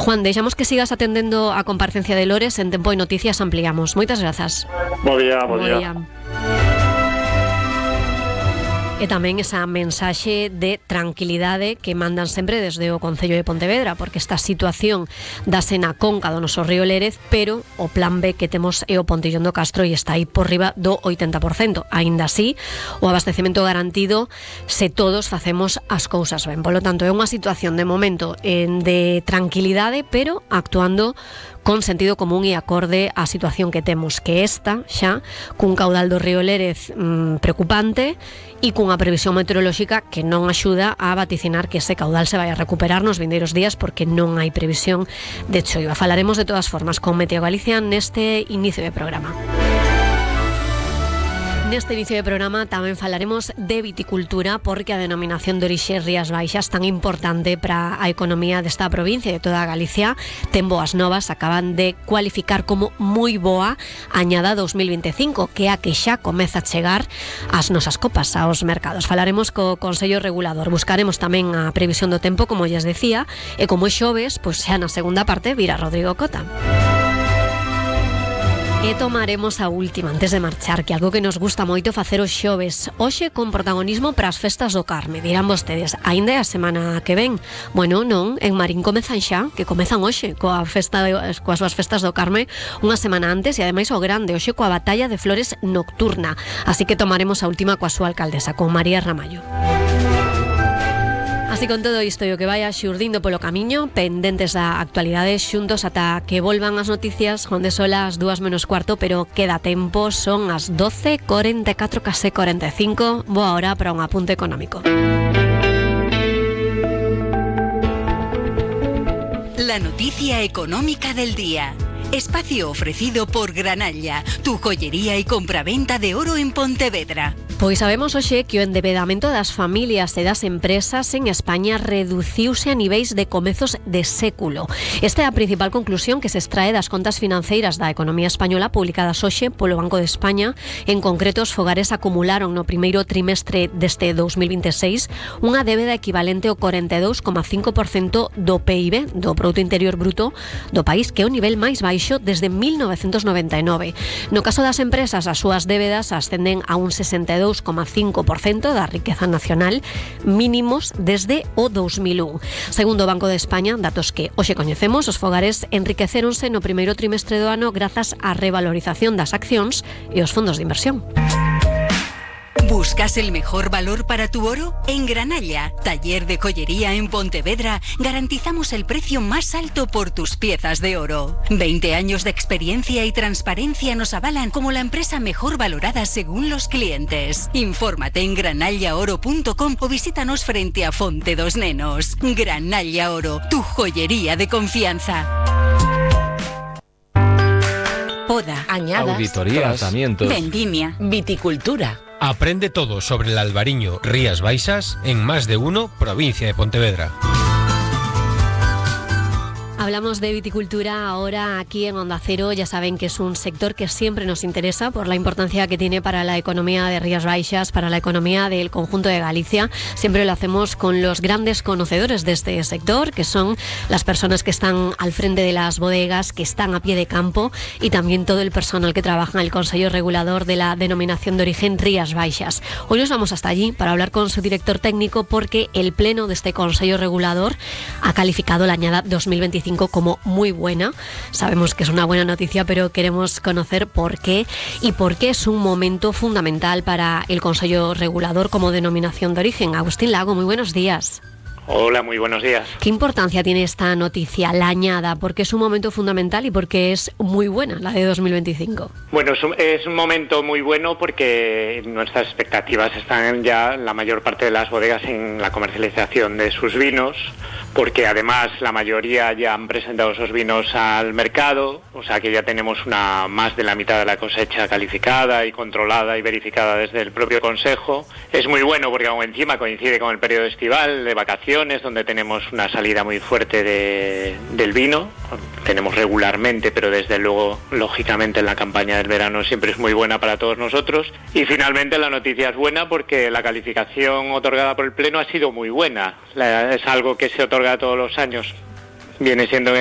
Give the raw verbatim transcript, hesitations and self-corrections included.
Juan, deixamos que sigas atendendo a comparecencia de Lores en Tempo e Noticias ampliamos. Moitas grazas. Bo día, bo día. E tamén esa mensaxe de tranquilidade que mandan sempre desde o Concello de Pontevedra, porque esta situación dase na conca do noso río Lérez, pero o plan B que temos é o Pontillón do Castro e está aí por riba do oitenta por cento. Aínda así, o abastecemento garantido se todos facemos as cousas ben. Polo tanto, é unha situación de momento en de tranquilidade, pero actuando con sentido común e acorde á situación que temos, que esta xa cun caudal do río Lérez mmm, preocupante e cunha previsión meteorolóxica que non axuda a vaticinar que ese caudal se vai a recuperar nos vindeiros días, porque non hai previsión de choiva. Falaremos de todas formas con Meteo Galicia neste inicio de programa. Neste inicio de programa tamén falaremos de viticultura, porque a denominación de orixe Rías Baixas, tan importante para a economía desta provincia e de toda Galicia, ten boas novas. Acaban de cualificar como moi boa a añada dos mil veinticinco, que é a que xa comeza a chegar ás nosas copas, aos mercados. Falaremos co Consello Regulador, buscaremos tamén a previsión do tempo, como lles decía, e como é xoves, pois xa na segunda parte vira Rodrigo Cota. E tomaremos a última antes de marchar, que algo que nos gusta moito facer os xoves, hoxe con protagonismo para as festas do Carme. Dirán vostedes, aínda é a semana que ven. Bueno, non, en Marín comezan xa, que comezan hoxe coa festa de, coas súas festas do Carme unha semana antes, e ademais o grande, hoxe coa batalla de flores nocturna. Así que tomaremos a última coa súa alcaldesa, con María Ramallo. Así con todo isto e o que vaya xurdindo polo camiño, pendentes da actualidade, xuntos ata que volvan as noticias, onde son as dúas menos cuarto, pero queda tempo, son as doce e cuarenta e catro, case cuarenta e cinco. Boa hora para un apunte económico. La noticia económica del día. Espacio ofrecido por Granalla, tu joyería y compraventa de oro en Pontevedra. Pois sabemos hoxe que o endebedamento das familias e das empresas en España reduciuse a niveis de comezos de século. Esta é a principal conclusión que se extrae das contas financeiras da economía española publicadas hoxe polo Banco de España. En concreto, os fogares acumularon no primeiro trimestre deste dos mil veintiséis unha débeda equivalente ao cuarenta e dous coma cinco por cento do P I B, do Produto Interior Bruto do país, que é o nivel máis baixo desde mil novecentos noventa e nove. No caso das empresas, as súas débedas ascenden a un sesenta e dous coma cinco por cento da riqueza nacional, mínimos desde o dos mil un. Segundo o Banco de España, datos que hoxe coñecemos, os fogares enriquecéronse no primeiro trimestre do ano grazas á revalorización das accións e os fondos de inversión. ¿Buscas el mejor valor para tu oro? En Granalla, taller de joyería en Pontevedra, garantizamos el precio más alto por tus piezas de oro. veinte años de experiencia y transparencia nos avalan como la empresa mejor valorada según los clientes. Infórmate en granalla oro punto com o visítanos frente a Fonte dos Nenos. Granalla Oro, tu joyería de confianza. Poda, añadas, auditoría, tratamientos, vendimia, viticultura. Aprende todo sobre el albariño Rías Baixas en Más de Uno, provincia de Pontevedra. Hablamos de viticultura ahora aquí en Onda Cero. Ya saben que es un sector que siempre nos interesa por la importancia que tiene para la economía de Rías Baixas, para la economía del conjunto de Galicia. Siempre lo hacemos con los grandes conocedores de este sector, que son las personas que están al frente de las bodegas, que están a pie de campo, y también todo el personal que trabaja en el Consello Regulador de la denominación de origen Rías Baixas. Hoy nos vamos hasta allí para hablar con su director técnico, porque el pleno de este Consello Regulador ha calificado la añada dos mil veinticinco como muy buena. Sabemos que es una buena noticia, pero queremos conocer por qué y por qué es un momento fundamental para el Consello Regulador como denominación de origen. Agustín Lago, muy buenos días. Hola, muy buenos días. ¿Qué importancia tiene esta noticia, la añada? Porque es un momento fundamental y porque es muy buena la de dos mil veinticinco. Bueno, es un, es un momento muy bueno porque nuestras expectativas están ya la mayor parte de las bodegas en la comercialización de sus vinos, porque además la mayoría ya han presentado esos vinos al mercado, o sea que ya tenemos una más de la mitad de la cosecha calificada y controlada y verificada desde el propio Consejo. Es muy bueno porque aún encima coincide con el periodo estival de vacaciones, donde tenemos una salida muy fuerte de, del vino. Tenemos regularmente, pero desde luego, lógicamente, en la campaña del verano siempre es muy buena para todos nosotros. Y finalmente la noticia es buena porque la calificación otorgada por el Pleno ha sido muy buena. La, es algo que se otorga todos los años. Viene siendo en